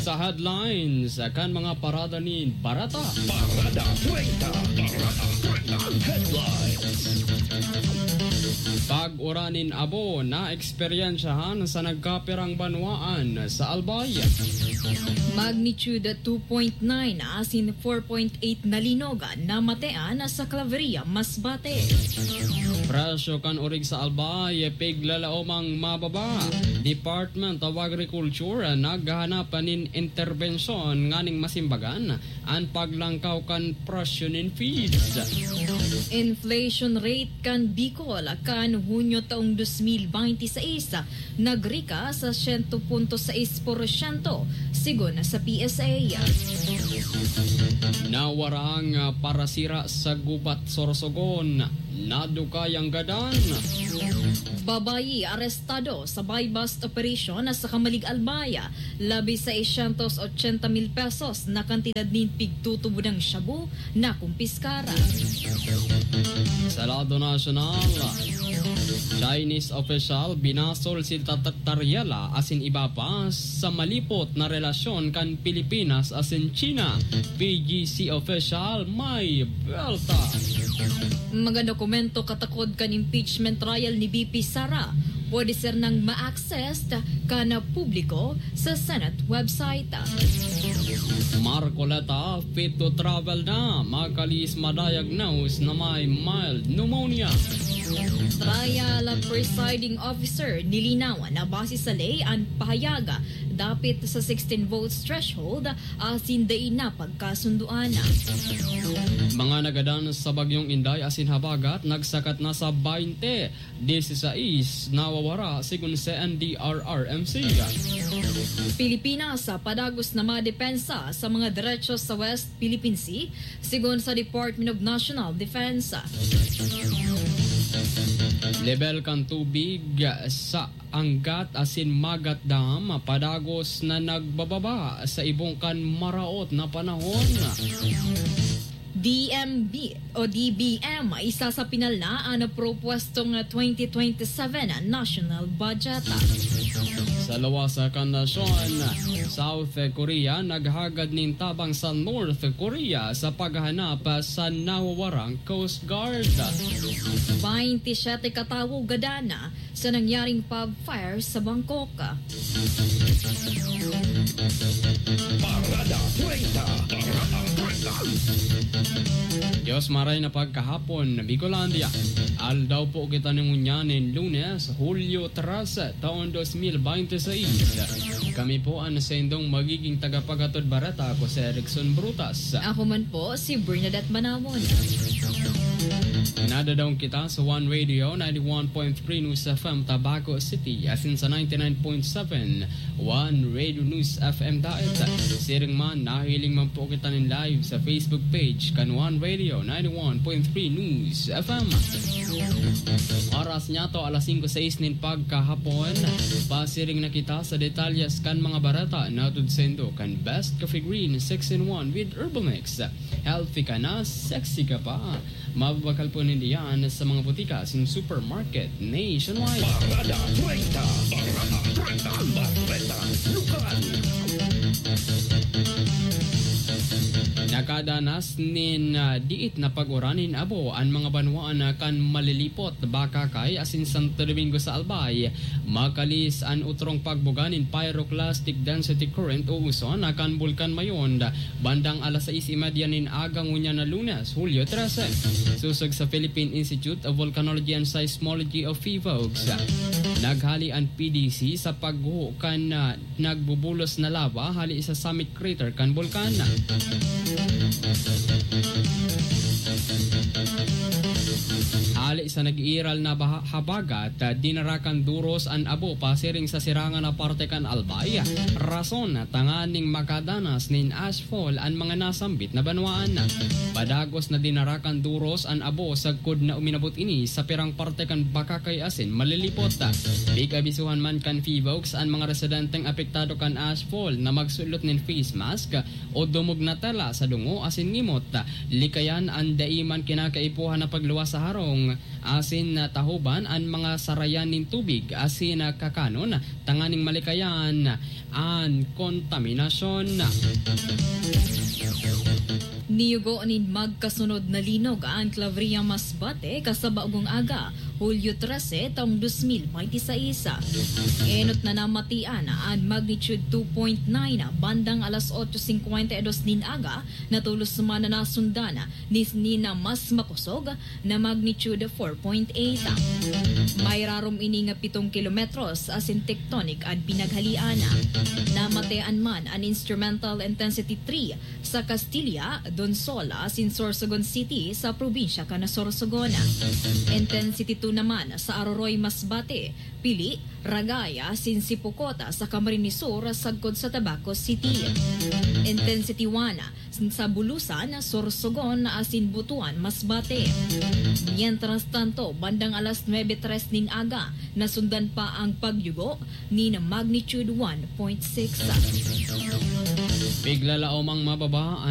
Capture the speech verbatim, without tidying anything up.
Sa headlines kan mga parada nin bareta. Parada treinta. Parada treinta. Headlines. Pag-uran nin abo na eksperyensyahan sa nagkapirang banwaan sa Albay. Magnitude two point nine asin four point eight na linog na matean sa Claveria, Masbate. Presyo kan orig sa Albay, piglalaomang mababa. Department of Agriculture naghahanap nin interbensyon nganing masimbagan an paglangkaw kan presyo nin feeds. Inflation rate kan Bicol kan Hunyo taong dos mil binte y seis nagrika sa siyento punto sais porsyento, sigon sa P S A. Nawarang parasira sa gubat Sorsogon, nadukay ang gadan. Babayi arestado sa buy-bust operation sa Camalig, Albay. Labi sa seiscientos ochenta mil pesos na kantidad nin pigtutubodang shabu na kumpiskara. Sa lado nasyonal, Chinese official binasol si Tata Tariela asin iba pa sa malipot na relasyon kan Pilipinas asin China. P G C official may buwelta. Mga dokumento katakod kan impeachment trial ni V P Sara, pwede sernang ma-access kan publiko sa Senate website. Marcoleta, fit to travel na, makalis ma-diagnose na may mild pneumonia. Trial presiding officer nilinaw na base sa ley an pahayag dapit sa sixteen votes threshold asin dai na pagkasundoan. Mga nagadan sa Bagyong Inday asin habagat nagsakat na sa baynte, disisais nawawara, sigon sa N D R R M C. Pilipinas, padagos na madepensa sa mga deretsyo sa West Philippine Sea, sigon sa Department of National Defense. Lebel kan tubig sa Angat asin Magat Dam padagos na nagbababa sa ibong kan maraot na panahon. D M B o D B M, isasapinal na an propwestong twenty twenty-seven national budget. Sa luwas kan nasyon, South Korea naghagad nin tabang sa North Korea sa paghahanap sa nawawarang Coast Guard. Baynte siyete katawo gadan na sa nangyaring pub fire sa Bangkok. Parada treinta. Parada treinta. Dios maray na pagkahapon, Bicolandia. Aldaw po kita nin ngunyan nin Lunes, Hulyo trese, taon dos mil binte seis. Kami po an saindong magiging tagapaghatod bareta, ako si Erickson Brutas. Ako man po, si Bernadette Manamon. Nadadaong kita sa One Radio, ninety-one point three News F M, Tabaco City, asin sa ninety-nine point seven One Radio News F M Daet. Siring man, nahiling man po kita nin live sa Facebook page kan One Radio, ninety-one point three News F M. Oras niya to, alas singko sais nin pagkahapon. Pasiring na kita sa detalyes kan mga bareta na hatod saindo kan Best Coffee Green six in one with Herbal Mix. Healthy ka na, sexy ka pa. Mababakal po ninda yan sa mga butika asin supermarket nationwide. Parada treinta. Parada treinta. Bareta Lokal. Nakadanas nin, ah, diit na pag-uran nin abo an mga banwaan na kan Malilipot, Bacacay asin Santo Domingo sa Albay. Makalis an otrong pagbuga nin pyroclastic density current o uson na kan Bulkan Mayon, bandang alas sais y media nin aga ngunyan na Lunes, Hulyo trese. Sosog sa Philippine Institute of Volcanology and Seismology o PHIVOLCS, naghali an P D C sa pagguho kan, ah, nagbubulos na lava hali sa summit crater kan bulkan. Hali sa nag-iiral na baha-, habagat, ah, dinara kan duros an abo pasiring sa sirangan na parte kan Albay. Rason tanganing makadanas nin ashfall an mga nasambit na banwaan. Padagos na dinara kan duros an abo sagkod na uminabot ini sa pirang parte kan Bacacay asin Malilipot. Pig-abisohan man kan PHIVOLCS an mga residenteng apektado kan ashfall na magsulot nin face mask o dumog na tela sa dungo asin ngimot. Likayan an dai man kinakaipuhan na pagluwas sa harong asin, ah, tahoban an mga sarayan nin tubig asin, ah, kakanon tanganing malikayan an kontaminasyon. Niyugo nin magkasunod na linog an Claveria Masbate kasabagong aga, Hulyo trese, taong dos mil bente seis. Enot na namatian an magnitude two point nine bandang alas otso singkwenta y dos nin aga, na tolos man na nasundan ni, ni na mas makosog na magnitude four point eight. May rarom ini nga pitong kilometros asin tectonic an pinaghalian. Namatian man an instrumental intensity three sa Castilla, Donsol asin Sorsogon City sa probinsya kan Sorsogon. Intensity two naman sa Aroroy, Masbate, Pili, Ragay asin Sipocot sa Camarines Sur sagkod sa Tabaco City. Intensity one sa Bulusan, Sorsogon asin Butuan, Masbate. Mientras tanto, bandang alas nuebe tres nin aga, nasundan pa ang pagyugo nin magnitude one point six. Piglalaom ang mababa